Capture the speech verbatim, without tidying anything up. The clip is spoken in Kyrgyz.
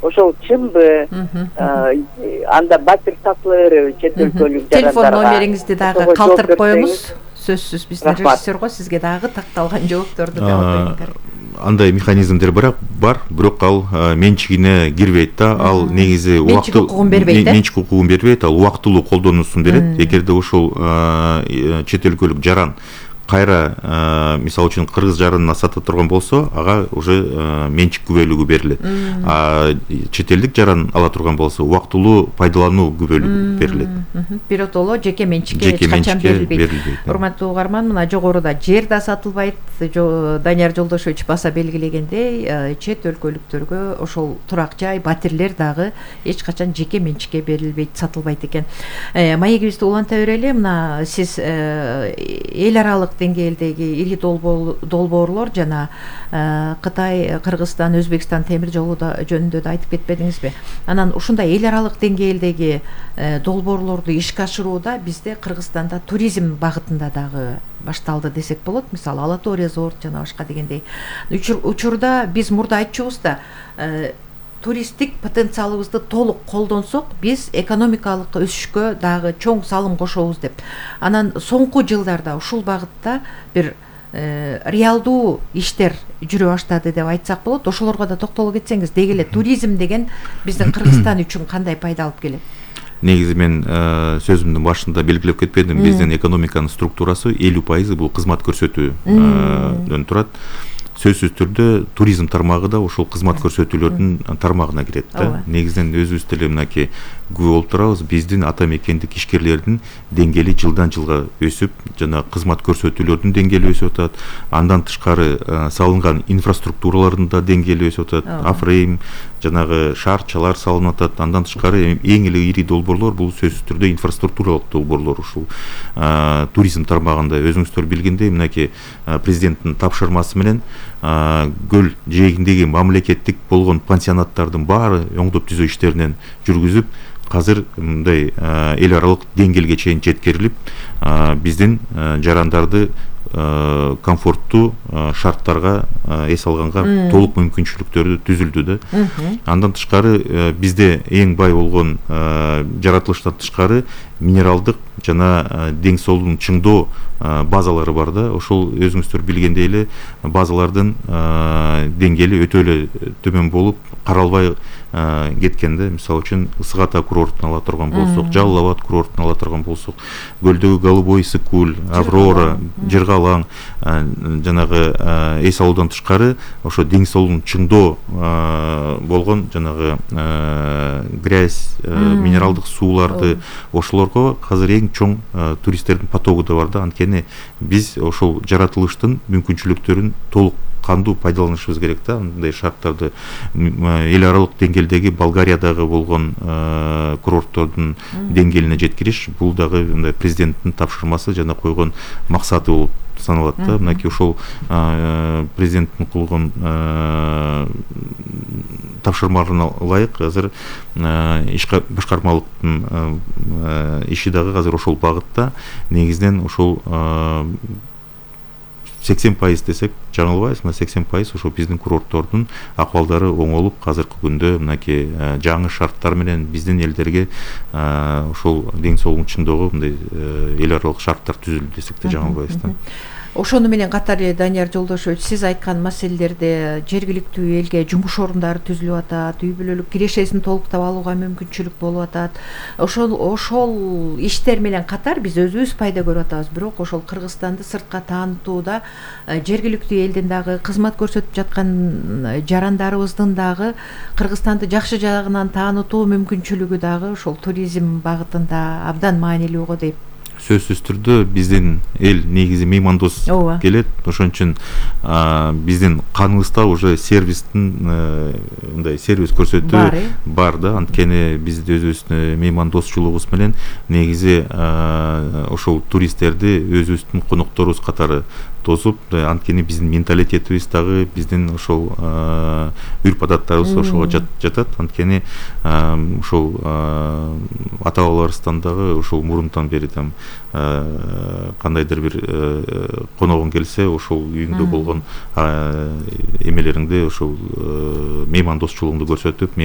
ошол чынбы, анда батир сатылырбы чет өлкөлүк жарандарга? Телефон номериңизди дагы калтырып коюңуз. Сөзсүз биздин режиссер го сизге дагы такталган жоопторду кабыл. Андай механизмдер бар, бирок ал менчигине кирбейт да. Ал негизи убактылуу укугун бербейт, менчик укугун бербейт, ал убактылуу колдонуусун берет. Эгерде ошол чет өлкөлүк жаран кайра мисалы үчүн кыргыз жаранына сата турган болсо, ага уже менчик күбөлүгү берилет. А чет элдик жаран ала турган болсо, убактылуу пайдалануу күбөлүгү берилет. Биротоло жеке менчикке эч качан берилбейт. Урматтуу угарман, мына жогоруда жер да сатылбайт. Данияр Жолдошевич баса белгилегендей, чет өлкөлүктөргө ошол турак жай, батирлер дагы эч качан жеке менчикке берилбейт, сатылбайт экен. Маегибизди уланта берели. Мына сиз эл аралык деңгээлдеги ири долбоорлор жана Кытай, Кыргызстан, Өзбекстан темир жолу жөнүндө да айтып кетпедиңизби? Анан ушундай эл аралык деңгээлдеги долбоорлорду ишке ашырууда бизде Кыргызстанда туризм багытында дагы башталды десек болот. Мисалы Алатоо резорт жана башка дегендей. Учурда биз мурда айтчубуз да, туристтик потенциалыбызды толук колдонсок, биз экономикалык өсүшкө дагы чоң салым кошобуз деп. Анан соңку жылдарда ушул багытта бир реалдуу иштер жүрө баштады деп айтсак болот. Ошолорго да токтоло кетсеңиз, деги эле туризм деген биздин Кыргызстан үчүн кандай пайда алып келет? Негизи мен сөзүмдүн башында белгилеп кетпедим, биздин экономиканын структурасы элүү пайызы бул кызмат көрсөтүүдөн турат. Сөзсүз түрдө туризм тармагы да ошол кызмат көрсөтүүлөрдүн тармагына кирет да. Негизинен өзүбүз деле мынакей күбө болуп турабыз, биздин ата мекендик ишкерлердин деңгээли жылдан жылга өсүп, жана кызмат көрсөтүүлөрдүн деңгээли өсүп атат. Андан тышкары салынган инфраструктуралардын да деңгээли өсүп атат. Афрейм, жанагы шаарчалар салынып атат. Андан тышкары эң эле ири долбоорлор бул сөзсүз түрдө инфраструктуралык долбоорлор. Ушул туризм тармагында өзүңүздөр билгендей, мынакей президенттин тапшырмасы менен көл жээгиндеги мамлекеттик болгон пансионаттардын баары оңдоп түзөө иштеринен жүргүзүп, азыр мындай эл аралык деңгээлге чейин жеткирилип, биздин жарандарды комфорттуу шарттарга эс алганга толук мүмкүнчүлүктөрү түзүлдү да. Андан тышкары бизде эң бай болгон жаратылыштан тышкары минералдык жана дең соолун чыңдоо базалары бар да. Ошол өзүңүздөр билгендей эле базалардын деңгээли өтө эле төмөн болуп, каралбай кеткен да. Мисалы үчүн Ысык Ата курортун ала турган болсок, Жалал Абад курортун ала турган болсок, көлдөгү Голубой Ысык-Көл, Аврора, Жыргалаң жанагы эс алуудан тышкары ошо дең соолун чыңдоо болгон жанагы грязь, минералдык сууларды, ошолорго азыр эң чоң туристтердин потогу да бар да. Анткени биз ошол жаратылыштын мүмкүнчүлүктөрүн толук кандуу пайдаланышыбыз керек да. Мындай шарттарды эл аралык деңгээлдеги Болгариядагы болгон курорттордун деңгээлине жеткириш, бул дагы мындай президенттин тапшырмасы жана койгон максаты болуп саналат да. Мынакей ошол президенттин койгон тапшырмаларына ылайык азыр иш башкармалыктын иши дагы азыр ошол багытта. Негизинен ошол сексен пайыз десек жаңылбайбыз, мына сексен пайыз ошо биздин курорттордун акыбалдары оңолуп, азыркы күндө мынакей жаңы шарттар менен биздин элдерге ошол дең соолун чыңдоого мындай эл аралык шарттар түзүлдү десек да жаңылбайбыз да. Ошону менен катар эле Данияр Жолдошевич, сиз айткан маселелерде жергиликтүү элге жумуш орундары түзүлүп атат, үй бүлөлүк кирешесин толуктап алууга мүмкүнчүлүк болуп атат. Ошол ошол иштер менен катар биз өзүбүз пайда көрүп атабыз. Бирок ошол Кыргызстанды сыртка таанытууда жергиликтүү элдин дагы кызмат көрсөтүп жаткан жарандарыбыздын дагы Кыргызстанды жакшы жагынан таанытуу мүмкүнчүлүгү дагы ошол туризм багытында абдан маанилүү го дейм. Сөзсүз түрдө биздин эл негизи меймандос келет. Ошон үчүн биздин каныбызда уже сервистин мындай сервис көрсөтүү бар да. Анткени биз өзүбүздүн меймандосчулугубуз менен негизи ошол туристтерди өзүбүздүн конокторубуз катары тосуп, анткени биздин менталитетибиз дагы, биздин ошол үрп адаттарыбыз ошого жатат. Анткени ошол ата бабаларыбыздан дагы ошол мурунтан бери там кандайдыр бир коногуң келсе, ошол үйүңдө болгон эмелериңди, ошол меймандосчулугуңду көрсөтүп,